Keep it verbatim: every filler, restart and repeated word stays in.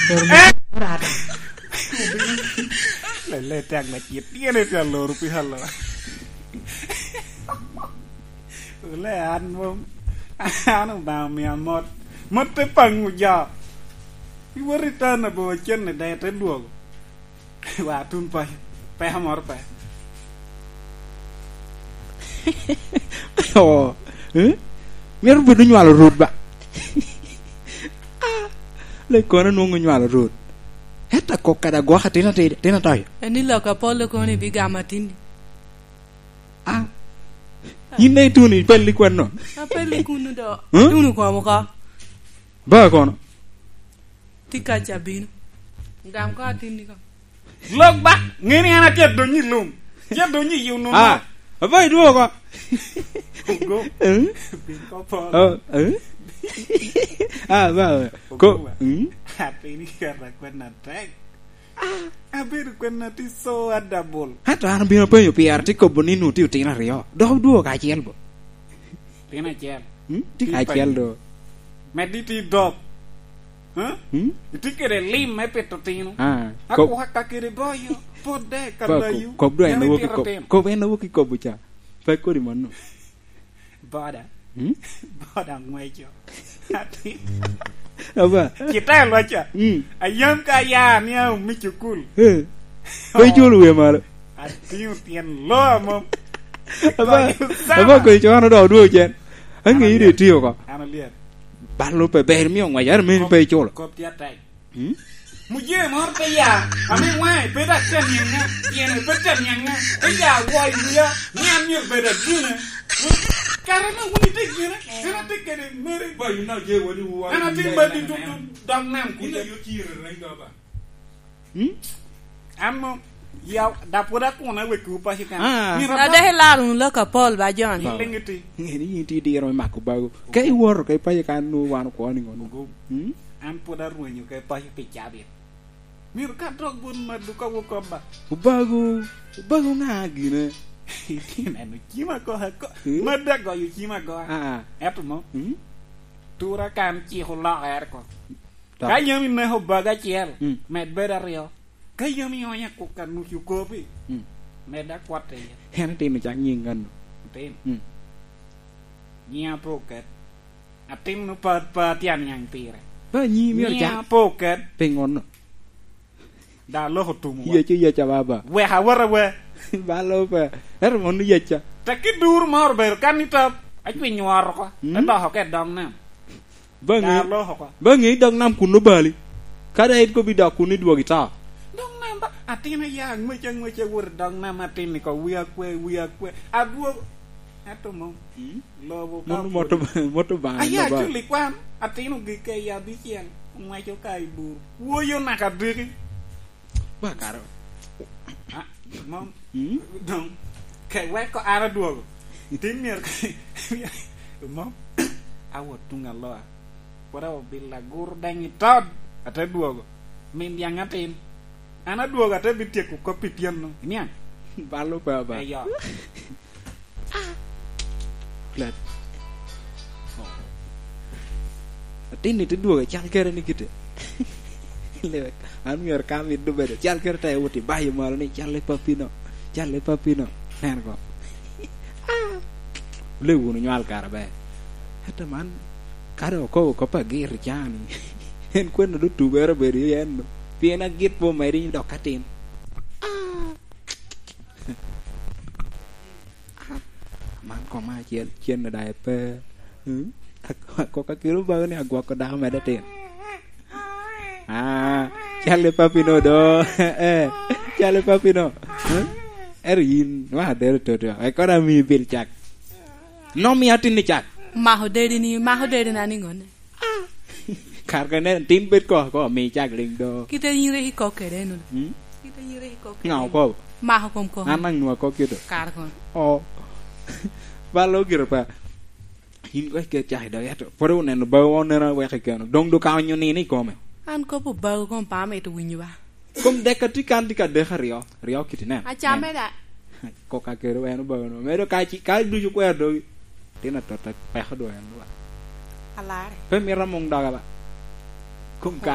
Loro me orata. Lele te aŋwec i tyene te aloro pi alora. Ole an mom, an Obaŋa omia mot. Mot te paŋo jo. Iwot i town abor cen i dee te dwogo. Wa tun paco. Peko moro pe. Oh, eh? Myero bed onywalo rwot ba. Ah, lekono nwoŋo onywalo rwot. Ento kok kadi agwok atin atir, atin atoyo. En i lok apol kono ibigamo atinni. Ah, yin daŋ ituno ipelli kwano? Apelli kunu do. Hmm? Ituno kom oko. Ba kono? Tye ka ca bino. Gam ko atinni ko. Lok ba, ŋeni an atye adonyo i lum. Tye adonyo i yo nono. Ah, aba idwogo oko. Ogo. Eh? Bin ko polo. Oh, eh? Ah, ba, ko, Ogo ba. Hmm? Atin i kata kwena tek. Abedo kwena tye so adabol. Ento an abino penyo pire, tye kobo ni nwoŋo tye otino aryo. Dok odwogo kacel bo. Tyen acel. Hmm? Tye ka acel do. Meddi tye i dog. Huh? Hmm? Itye kede lim me pito tino. Ah, akwaka kede boyo, podde ka ba, layu. Kob do en awoki kob. Kob en awoki kobo ca. Pe kodi mano. Boda. Hmm? Boda ngweco. Aba. Kita lwaca. Hmm. Ayam ka ya ni a umi cukul. Eh. Pe iculo wiye malo. Atingo tyen lo amom. Aba, aba kwe cono do odwo cen. Ange ide itiyo ko. An alier. Balo pe ber mi ongwac, ero meni pe iculo. Kop tye atek. Hmm? Mujee moro te ya, ame waŋe pe dok te niaŋa, tyene pe te niaŋa, te ya woi wia, ni an myero bed adine. Kare me wun ite gine, en ate kede mere. Ba, you know, je wadi wu an ate badi tutu, dog nam kuca. Hmm? An mom, ya, da pwod akuno awekkiwu paco kan. Ah. Myero adok. Adek ilaro wunu lok apol ba, Jon. Ba. Ling iti. Ngeni yin tye diro me mako bago. Ka iwoto ka ipaco kan, nwoŋo wan okwo ni ŋono. Ogo. Hmm? An pwod arwenyo ka ipaco pi cabit. Myero ka dok bot maddu ka wok kop ba. Obago, obago ŋa gine? Itye neno cim agoa ako. Hmm? Maddu agoyo cim agoa. Ah, ah. Ento mo. Hmm? Tura kan cik olokere ko. Ka yam ineko obago acel, mm, med bedo aryo. Ka yam ionyo akuk a nucu kopi, mm, med akwat iye. En atin ocak nyiŋ ŋano? Atin. Mm. Nyiŋa pe oket. Atin opat pat tye aniaŋ pire. Ba nyiŋ myero cak. Nyiŋa pe oket. Piŋono? Da lok otumo wa. Yec oyec a baba. Wek awot awe. Ba lok pe. Ento mon oyecca. Tekki duru ma obedo kan i tap, acwinyo ot oko. Mm. Te dok oko i dog nam. Ba ŋe, da lok oko. Ba ŋe i dog nam kun obali. Ka da in kobi dok kun idwogo ito. Dog nam ba, atin aya aŋwec aŋwec awot i dog nam, atin ni ko wi akwe, wi akwe. Adwogo. Ento mom. Mm. Lobo ka mono moto, moto bana. Aya ba. Aculi kwan, atin ogik ka i abicel, ŋwaco ka i bur. Woyo naka diki. Ba karo. Ah, mom. Mm? Dong, ke weko an adwogo. Tin myero, mom. Awot tuŋ aloa. Pwod awot bilo agur deny i tod, ate dwogo. Min yaŋ atin. An adwogo ate bityeko kop i tyeno. Iniaŋ? Balo pe aba. Eyo. Plat. Atin-ni te dwogo cal kere ni kite. Lewek, an myero ka amito bedo cal kere te wot i bayo malo ni, "Cal i pappino, cal i pappino." Nen ko. Lewu wunu nywal kara ber. Ento man, ka dong okobo kop agir i caa-ni, en kwene dong tubere obedo i en-nu. Pien agit pe omedde dok atin. Ah! Man koma acel cen daŋ epe. Hmm? Ak-, akok akelo bago ni agwoko dako medde tin. Ah, cal i pappino do. Eh, cal i pappino. Hmm? Ero yin, wa dero toto. Ekona mi bil cak. Nom i atin ni cak. Mako deri ni, mako deri na ni ŋone. Kar ka nen, tin bed ko, ko, mi cak liŋ do. Kite yin rik ikok kede eno. Hmm? Kite yin rik ikok kede eno. Ŋa okobo? Mako kom kom. An naŋ nwa kok kito. Kar kono. Oh. Balo gire pa. Yin ko ke cak i dog eto. Pwod oneno bago oneno wek ikeno. Dong do ka onyo nino i kome. An kopo bago kom pa amito winyo ba. Kom dek atye kan tye ka dek aryo, aryo kiti nen. Acame da. Kok akero en obago no. Medo ka ci, ka ducu kwero dogi. Tin atot peko dwa en dwa. Alare. Pe mito among doga ba. Kom ka